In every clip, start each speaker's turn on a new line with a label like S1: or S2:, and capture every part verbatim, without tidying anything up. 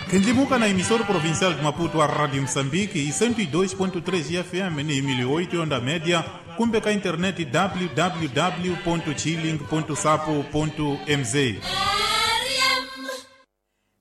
S1: Kendlimuka na emissora provincial de Maputo, a Rádio Moçambique e cento e dois ponto três F M em mil e oito onda média, cumbe com a internet w w w ponto chilling ponto sapo ponto m z.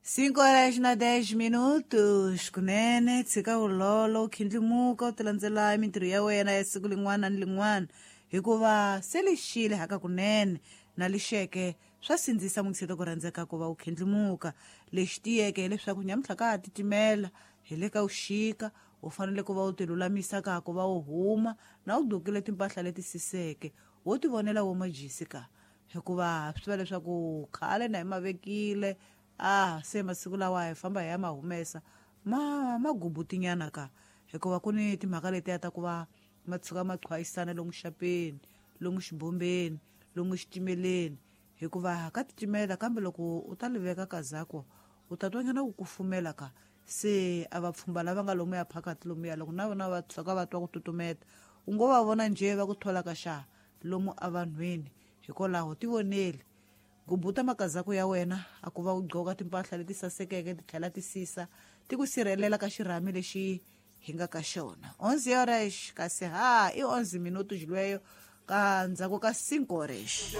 S2: Cinco horas na dez minutos, kunene tshika ulolo khindlimuka u tilandzela mintirho ya wena ya siku lin'wana ni lin'wana hikuva se lixile haka kunene na lixeke swa sindzisa mungiseta ku rhandzeka ku va u khindlimuka. Lexi tiyeke hileswaku nyamuntlha ka ha titimela hi le ka vuxika u fanele ku va u tilulamisa ka ku va u huma na u gqokile timpahla leti siseke wo tivonela wo majisi ka hikuva swi tiva leswaku khale na hi mavekile ah se masiku lawa hi famba hi ya ma humesa ma ma gubutinyana ka hikuva ku ni timhaka letiya ta ku va ma tshuka ma qhwayisana lomu xapeni lomu xibombeni lomu xitimeleni hikuva ka titimela kambe loko u ta liveka kazako u ta twanyana ku kufumela ka se a va pfhumba lava nga lomu ya phakati lomuya loko na vona va tshuka va twa ku tutumeta u ngo va vona njhe va ku thola ka xa lomu avanhwini. Hikwalaho tivoneli gubuta makazako ya wena a ku va u gqoka timpahla leti sasekeke ti tlhela ti sisa ti ku sirhelela ka xirhami lexi hi nga ka xona. Onze horas kasi ha i onze minutos lweyo ka ndzhaku ka cinco horas.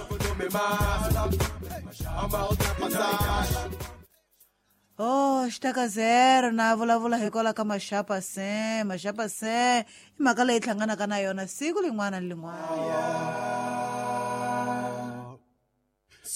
S2: Oh, xitaka zero na vulavula hikwalaho ka maxapa se maxapa se i mhaka leyi hlanganaka na yona siku lin'wana ni lin'wana.